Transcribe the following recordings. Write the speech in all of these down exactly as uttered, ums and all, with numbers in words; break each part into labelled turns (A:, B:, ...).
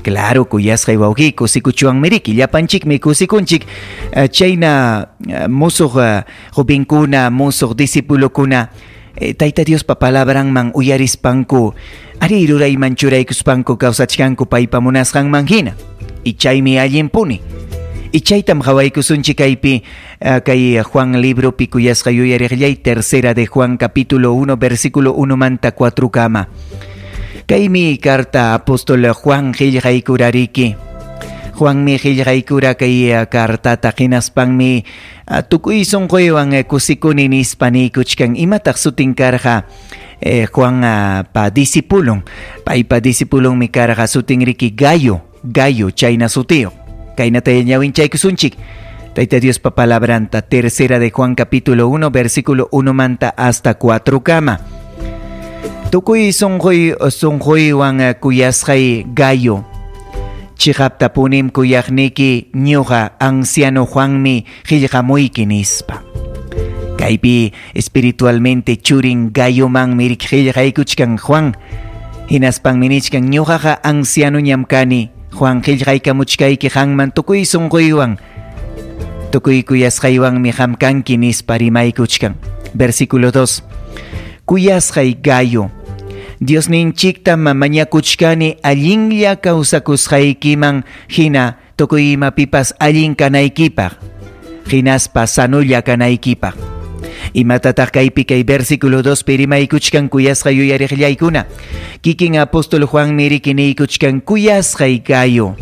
A: Claro, kuyasqay wawqi, kusikuchwanmi riki, llapanchikmi kusikunchik. Chayna musuq jovenkuna, musuq discipulokuna Tayta Diospa palabranman uyarispanku, ari rurayman churaykuspanku kawsachkanku paypa munasqanman hina. Y chaymi allinpuni. Y chaytam qhawaykusunchik kaypi kay Juan libropi kuyasqa yuyariqllay, tercera de Juan capítulo uno versículo uno manta cuatro kama. Kaymi carta apóstol Juan qillqaykurariki. Juanmi qillqaykura kay cartata hinaspanmi tukuy sunquywan kusikuni nispa niykuchkan. Imataq sutin karqa Juan pa discipulon? Paypa discipulonmi karqa sutin riki Gayo, Gayo chayna sutiyuq. Kaynata ñawinchaykusunchik Tayta Diospa palabranta, tercera de Juan capítulo uno versículo uno manta hasta cuatro kama. Tukuy sunquy sunquywan kuyasqay Gayo, chiqaptapunim kuyaqniki ñuqa anciano Juanmi qillqamuyki nispa. Kaypi espiritualmente churin Gayomanmi qillqaykuchkan Juan. Hinaspanmi nichkan ñuqaqa anciano ñam kani. Juan qillqaykamuchkayki qanman tukuy sunquywan, tukuy kuyasqaywanmi qam kanki nispa rimaykuchkan. Versículo dos. Kuyasqay Gayo, Diosninchikta mañakuchkani allinlla kawsakusqaykiman hina tukuy imapipas allin kanaykipaq, hinaspa sanulla kanaykipaq. Imatataq kaypi kay versículo dos pi rimaykuchkan kuyasqa yuyariqllaykuna? Kikin apóstol Juanmi riki niykuchkan kuyasqay Gayo,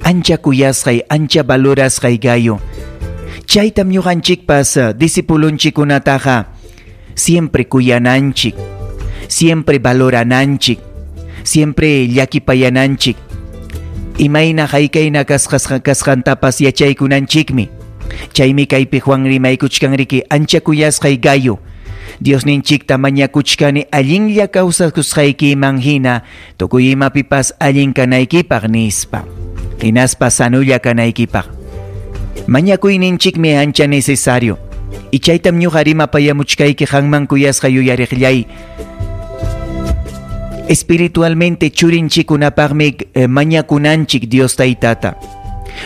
A: ancha kuyasqay, ancha valorasqay Gayo. Chaytam ñuqanchikpas discipulunchikunataqa siempre kuyananchik, siempre valorananchik, siempre llakipayananchik. Imayna haykayna kasqasqa kasqantapas yachaykunanchikmi. Chaymi kaypi Juan rimaykuchkan riki ancha kuyasqay Gayo, Diosninchikta mañakuchkani allinlla kawsakusqaykiman hina tukuy imapipas allin kanaykipaq nispa, hinaspa sanulla kanaykipaq. Mañakuyninchikmi ancha necesario. Y chaytam ñuqa rimapayamuchkayki qanman kuyasqa yuyariqllay. Espiritualmente churinchikunapaqmi eh, mañakunanchik Dios Taytata.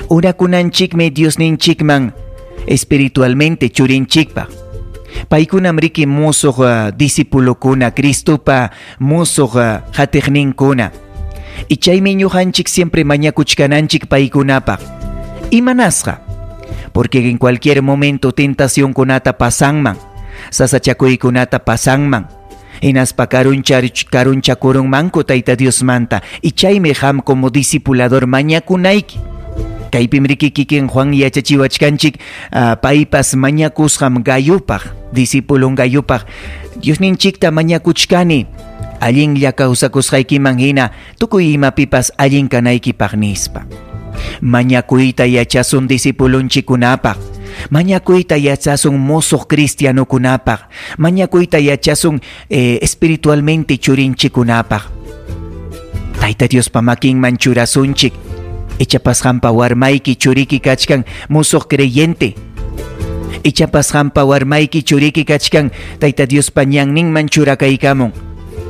A: Urakunanchikmi Diosninchikman espiritualmente churinchikpaq. Paykunam riki musuq uh, discipulokuna, Cristopa musuq uh, hatiqninkuna. Y chaymi ñuqanchik siempre mañakuchkananchik paykunapaq. Imanasqa? Porque en cualquier momento tentacionkunata pasanman, sasachakuykunata pasanman, hinaspa karunchakurunmanku Tayta Diosmanta. Y chaymi qam como discipulador mañakunayki. Kaypim riki kikin Juan yachachiwachkanchik uh, paypas mañakusqam Gayopaq, discipulon Gayopaq. Diosninchikta mañakuchkani allinlla kawsakusqaykiman hina tukuy imapipas allin kanaykipaq nispa. Mañakuyta yachasun discipulonchikunapaq, mañakuyta yachasun musuq cristianokunapaq, mañakuyta yachasun eh, espiritualmente churinchikunapaq. Tayta Diospa makinman churasunchik. Ichapas qampa warmayki churiki kachkan musuq creyente. Ichapas qampa warmayki churiki kachkan Tayta Diospa ñanninman churakaykamun.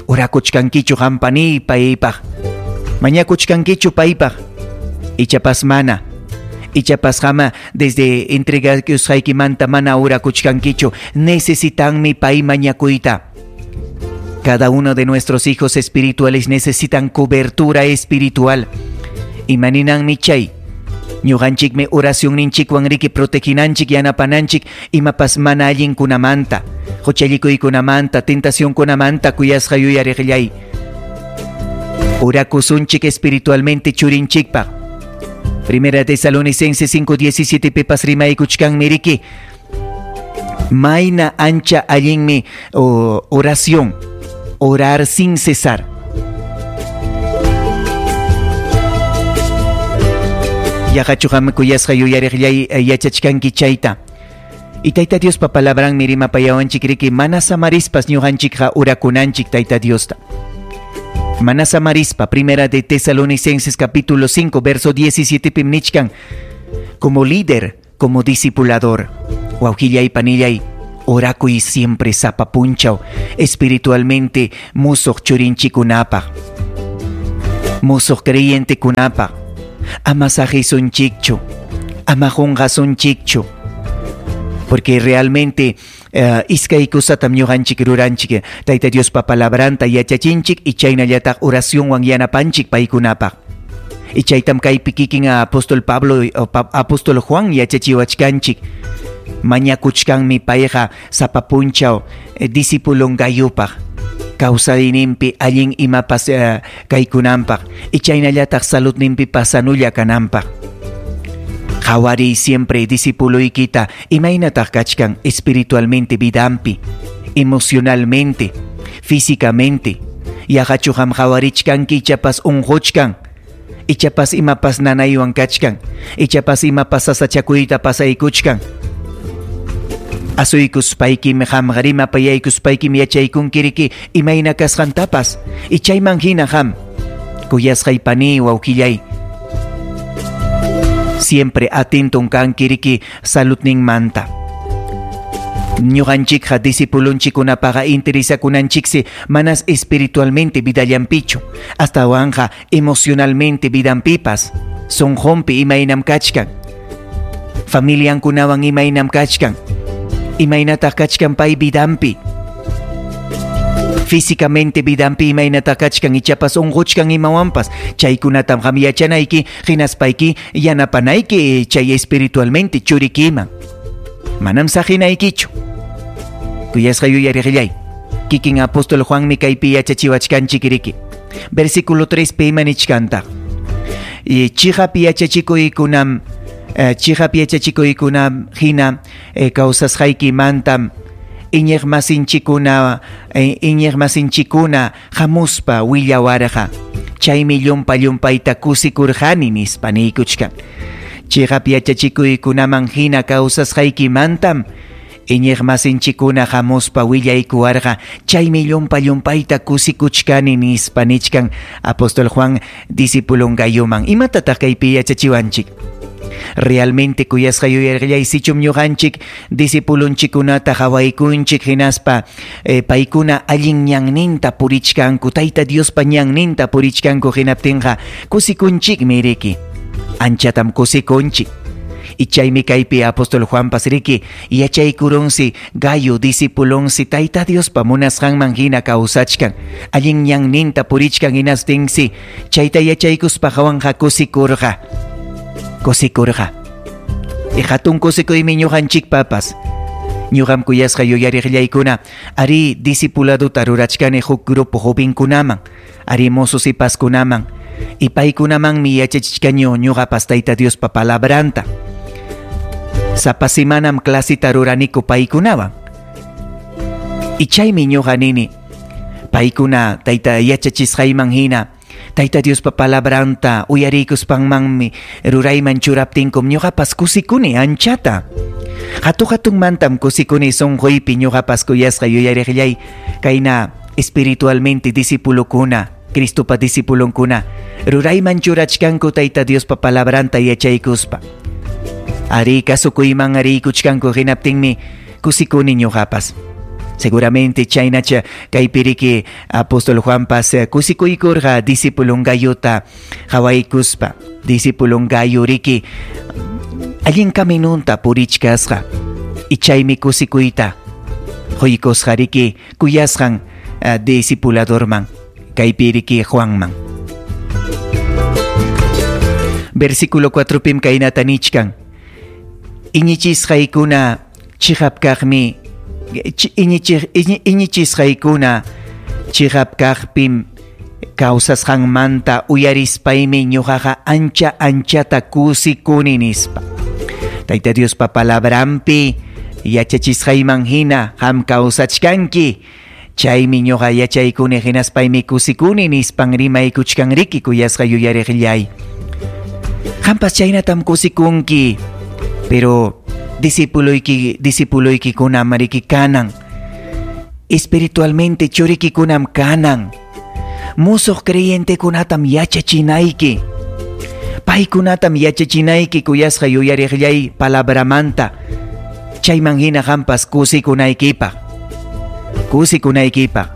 A: Orakuchkankichu qampani paypaq, mañakuchkankichu paypaq. Ichapas mana. Ichapas qama desde entregakusqaykimanta mana orakuchkankichu. Necesitanmi pay mañakuyta. Cada uno de nuestros hijos espirituales necesitan cobertura espiritual. Imaninanmi chay. Ñuqanchikmi oracionninchikwan riki proteginanchik yanapananchik imapas mana allinkunamanta, huchallikuykunamanta, tentacionkunamanta kuyasqa yuyariqllay. Orakusunchik espiritualmente churinchikpaq. Primera Tesalonicenses cinco diecisiete pipas rimaykuchkanmi riki. Mayna ancha allinmi oh, oración, orar sin cesar. Yaqachu qam kuyasqa yuyariqllay yachachkanki chayta. Y Tayta Diospa palabranmi rimapayawanchik riki mana samarispas ñuqanchikqa orakunanchik Tayta Diosta. Mana samarispa, Primera de Tesalonicenses capítulo cinco verso diecisiete pim nichkan, como líder, como discipulador, wawqillay panillay, orakuy siempre sapapunchaw, espiritualmente musuq churinchikunapaq. Musuq creyentekunapaq ama saqisunchikchu, ama qunqasunchikchu, porque realmente uh, iskay kusatam ñuqanchik ruranchik, Tayta Diospa palabranta yachachinchik y chaynallataq oracionwan yanapanchik paykunapaq. Y chaytam kaypi kikin apóstol Pablo, apóstol Juan yachachiwachkanchik. Mañakuchkanmi payqa sapa punchaw eh, discipulon Gayupaq kawsayninpi allin imapas uh, kaykunanpaq y chaynallataq saludninpi pasanulla kananpaq. Qhawariy siempre discipuloykita imaynataq kachkan espiritualmente vidanpi, emocionalmente, físicamente. Yaqachu qam qhawarichkanki ichapas unquchkan, ichapas imapas nanaywan kachkan, ichapas imapas sasachakuyta pasaykuchkan. Asuykuspaykim qamqa rimapayaykuspaykim yachaykunkiriki imayna kasqantapas y chayman hina qam kuyasqay pani wawqillay siempre atento kankiriki saludninmanta. Ñuqanchikqa discipulunchikkunapaqa interesakunanchiksi manas espiritualmente vidallanpichu, astawanqa emocionalmente vidanpipas, sunqunpi imaynam kachkan, familiankunawan imaynam kachkan, imaynataq kachkan pay vidanpi, físicamente vidanpi imaynataq kachkan ichapas unquchkan imawanpas, chaykunatam qam yachanayki hinaspayki yanapanayki chay espiritualmente churikiman. Manam saqinaykichu. Kuyasqa yuyariqillay, kikin apóstol Juanmi kaypi yachachiwachkanchik riki. Versículo tres pi ima nichkantaq. Y chiqap yachachikuykunam, eh, chiqap yachachikuykunam hina eh, kawsasqaykimantam iñiqmasinchikuna eh, iñiqmasinchikuna hamuspa willawarqa. Chaymi llumpa llumpayta kusikurqani nispa niykuchkan. Chiqap yachachikuykunaman hina kawsasqaykimantam iñiqmasinchikuna hamuspa willaykuwarqa. Chaymi llumpa llumpayta kusikuchkani nispa nichkan apóstol Juan discipulon Gayuman. Imatataq kaypi yachachiwanchik? Realmente kuyasqa yuyarqillay sichum ñuqanchik discipulunchikunata qhawaykunchik hinaspa eh, paykuna allin ñanninta purichkanku, Tayta Diospa ñanninta purichkanku hinaptinqa kusikunchikmi riki. Anchatam kusikunchik. Y chaymi kaypi apóstol Juanpas riki yachaykurunsi Gayo discipulonsi Tayta Diospa munasqanman hina kawsachkan, allin ñanninta purichkan hinastinsi chayta yachaykuspa hawanqa kusikurqa. Kusikurqa. Y hatun kusikuymi ñuqanchikpapas. Ñuqam kuyasqa yuyariqllaykuna ari discipuladuta rurachkani huk grupo jovenkunaman, ari mozo sipaskunaman, y paykunamanmi yachachichkañu ñuqapas Tayta Diospa palabranta. Sapa semanam clasita ruraniku paykunawan. Y chaymi ñuqa nini paykuna Tayta yachachisqayman hina Tayta Diospa palabranta uyarikuspanmanmi rurayman churaptinkum ñuqapas kusikuni anchata. Hatu hatunmantam kusikuni sunquypi ñuqapas kuyasqa yuyariqllay kayna espiritualmente discipulokuna, Cristopa discipulonkuna rurayman churachkanku Tayta Diospa palabranta yachaykuspa. Ari kasukuyman ariykuchkanku hinaptinmi kusikuni ñuqapas. Seguramente chaynacha kaypiriki apóstol Juanpas kusikuykurqa discipulon Gayuta qhawaykuspa, discipulon Gayo riki allin caminunta purichkasqa y chaymi kusikuyta quykusqa riki kuyasqan uh, discipuladorman kaypiriki Juanman. Versículo cuatro pim kaynata nichkan. Iñichisqaykuna chiqap kaqmi iñichisqaykuna chiqap kaqpim kawsasqanmanta uyarispaymi ñuqaqa ancha anchata kusikuni nispa. Tayta Diospa palabranpi yachachisqayman hina qam kawsachkanki. Chaymi ñuqa yachaykuni hinaspaymi kusikuni nispan rimaykuchkan riki kuyasqa yuyariqllay. Qampas chaynatam kusikunki, pero discipuloyki discipuloykikunam riki kanan, espiritualmente churikikunam kanan, musuq creyentekunatam yachachinayki, paykunatam yachachinayki kuyasqa yuyariqllay palabramanta, chayman hina qampas kusikunaykipaq, kusikunaykipaq.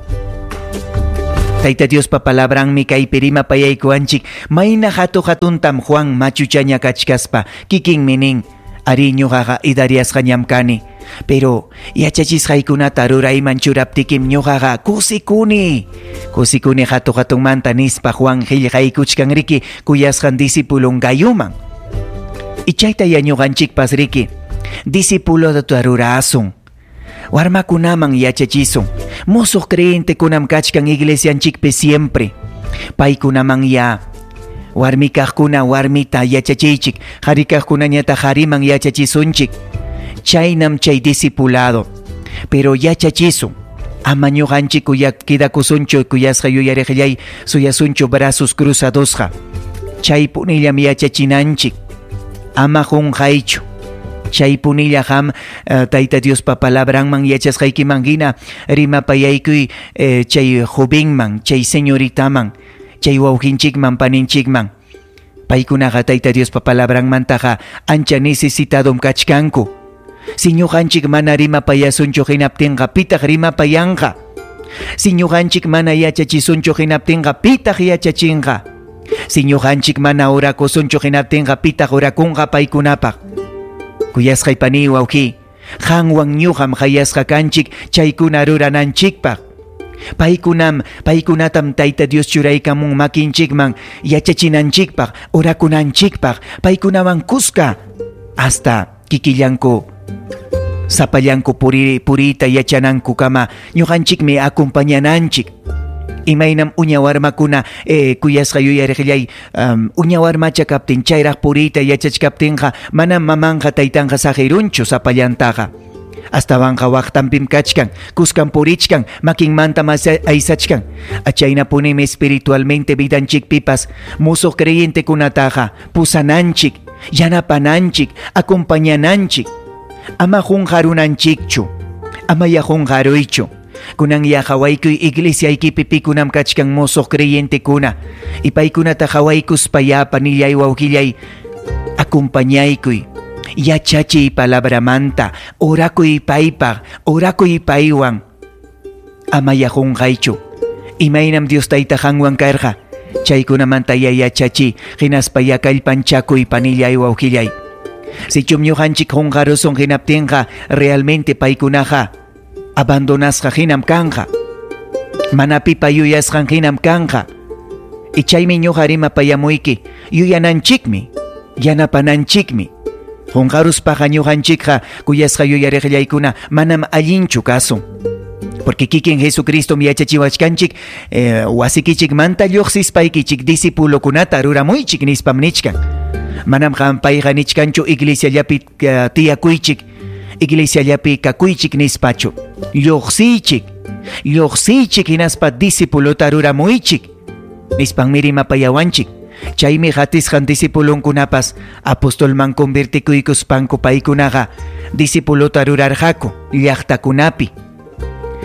A: Tayta Diospa palabranmi kaypi rimapayaykuwanchik mayna hatu hatuntam Juan machuchaña kachkaspa kikinmi nin ari ñuqaqa idariasqañam kani pero yachachisqaykunata rurayman churaptikim ñuqaqa kusikuni kusikuni hatu hatunmanta nispa Juan qillqaykuchkan riki kuyasqan discipulon Gayuman. Y chayta ya ñuqanchikpas riki discipulota rurasun warmakunaman yachachisun musuq creyentekunam kachkan iglesianchikpi siempre paykunaman ya warmi kaqkuna warmita yachachiychik qhari kaqkunañataq qhariman yachachisunchik chaynam chay discipulado pero yachachisun ama ñuqanchik quedakusunchu kuyasqa yuyariqllay suyasunchu brazos cruzadosqa chaypunillam yachachinanchik ama qunqaychu chaypunilla qam uh, Tayta Diospa palabranman yachasqaykiman hina rimapayaykuy eh, chay jovenman chay señoritaman chay wawqinchikman paninchikman paykunaqa Tayta Diospa palabranmantaqa ancha necesitadom kachkanku si ñuqanchik mana rimapayasunchu hinaptinqa pitaq rimapayanqa si ñuqanchik mana yachachisunchu hinaptinqa pitaq yachachinqa si ñuqanchik mana orakusunchu hinaptinqa pitaq orakunqa paykunapaq. Kuyasqay pani wawqi qanwan ñuqam hayasqa kanchik chaykuna rurananchikpaq paykunam paykunatam Tayta Dios churaykamun makinchikman yachachinanchikpaq orakunanchikpaq paykunawan kuska hasta kikillanku sapallanku puri purita yachanankukama ñuqanchikmi acompañananchik. Imaynam uña warmakuna eh, kuyasqa yuyariqllay um, uña warmacha kaptin chayraq puriyta yachachkaptinqa manam mamanqa taytanqa saqirunchu sapallantaqa astawanqa waqtanpim kachkan kuskan purichkan makinmantam aysachkan achaynapunimi espiritualmente vidanchikpipas musuq creyentekunataqa pusananchik yanapananchik acompañananchik ama qunqarunanchikchu ama ya qunqaruychu. Kunan ya hawaykuy iglesiaykipi pikunam kachkan musuq creyentekuna y paykunata hawaykuspa ya panillay wawqillay acompañaykuy yachachiy palabramanta orakuy paypaq orakuy paywan ama ya qunqaychu imaynam Dios tayta qanwan karqa chaykunamanta ya yachachiy hinaspa ya kallpanchakuy panillay wawqillay sichum ñuqanchik qunqarusun hinaptinqa realmente paykunaqa abandonasqa hinam kanqa mana pipa yuyasqan hinam kanqa y chaymi ñuqa rimapayamuyki yuyananchikmi yanapananchikmi qunqaruspaqa ñuqanchikqa kuyasqa yuyariqllaykuna manam allinchu kasun porque kikin Jesucristom yachachiwachkanchik eh, wasikichikmanta lluqsispaykichik discipulokunata ruramuychik nispam nichkan manam qam payqa nichkanchu iglesiallapi uh, tiyakuychik iglesiallapi kakuychik nispachu lluqsiychik lluqsiychik hinaspa discipulota ruramuychik nispanmi rimapayawanchik chaymi qatisqan discipulonkunapas apostolman convertikuykuspanku paykunaqa discipulota rurarqaku llaqtakunapi.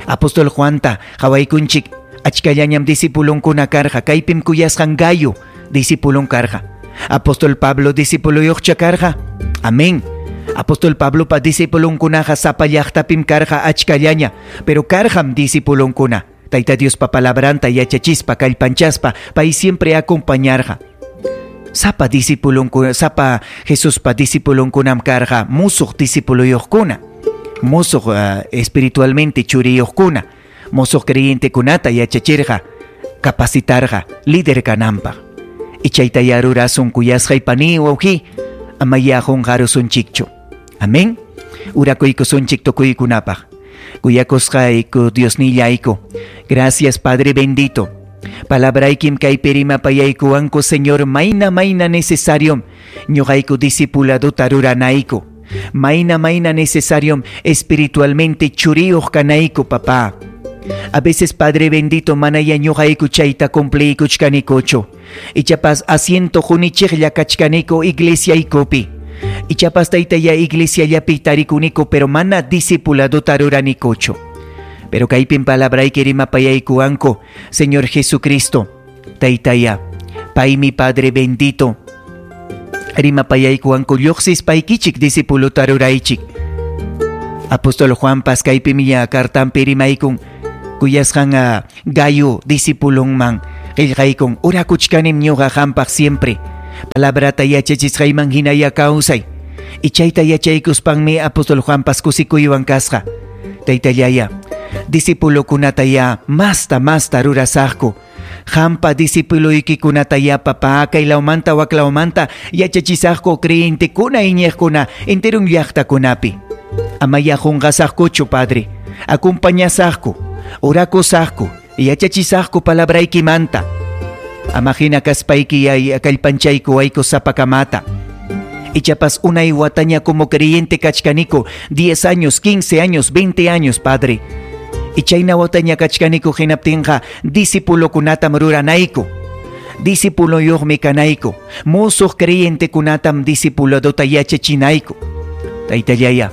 A: Apostol Juanta qhawaykunchik achkallañam discipulonkuna karqa kaypim kuyasqan Gayo discipulon karqa Apostol Pablo discipuluyuqcha karqa amén. Apostol Pablopa discipulonkunaqa sapa llaqtapim karqa achkallaña pero karqam discipulonkuna Tayta Diospa palabranta yachachispa kallpanchaspa pay siempre acompañarqa sapa discipulonkuna sapa Jesuspa discipulonkunam karqa musuq discipuluyuqkuna musuq uh, espiritualmente churiyuqkuna musuq creyentekunata yachachirqa capacitarqa líder kananpaq y chayta ya rurasun kuyasqay pani wawqi ama ya qunqarusunchikchu. Amén. Urakuykusunchik tukuykunapaq. Kuyakusqayku Diosnillayku. Gracias Padre bendito. Palabraykim kaypi rimapayaykuwanku Señor mayna mayna necesario ñuqayku discipuladota ruranayku. Mayna mayna necesario espiritualmente churiyuq kanayku papá. A veces Padre bendito manaya ñuqayku chayta cumpliykuchkanikuchu. Ichapas asiento hunichiqlla kachkaniku iglesiaykupi. Ichapas taytaya iglesiallapi tarikuniku pero mana discipuladota ruranikuchu. Pero kaypim palabrayki rimapayaykuwanku Señor Jesucristo taytaya paymi Padre bendito rimapayaykuwanku lluqsispaykichik discipulota ruraychik. Apóstol Juanpas kaypimi ya cartanpi rimaykun Kuyasqan Gayo discipulonman qillqaykun, orakuchkanim ñuqa qampaq siempre. Palabrata yachachisqayman hinaya kawsay. Y chayta yachaykuspanmi apóstol Juanpas kusikuywan kasqa. Taytallaya, discipulokunata ya masta masta rurasaqku. Qampa discipuloykikunata ya papá kaylawmanta waklawmanta yachachisaqku creyentekuna iñiqkuna enterun llaqtakunapi. Amaya qunqasaqkuchu, Padre. Acompañasaqku, orakusaqku, yachachisaqku palabraykimanta. Ama hina kaspayki ya kallpanchayku wayku sapakamata. Ichapas unay wataña como creyente kachkaniku, diez años, quince años, veinte años, Padre. Y chayna wataña kachkaniku hinaptinqa discipulokunatam ruranayku. Discipuloyuqmi kanayku. Musuq creyentekunatam discipuladota yachachinayku. Taytallaya,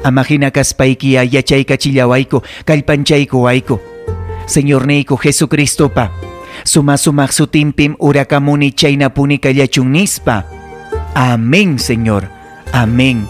A: ama hina kaspayki ya yachaykachillawayku, kallpanchayku wayku. Señorniyku Jesucristopa, suma sumaq sutinpim urakamuni chaynapuni kallachun nispa. Amén, Señor. Amén.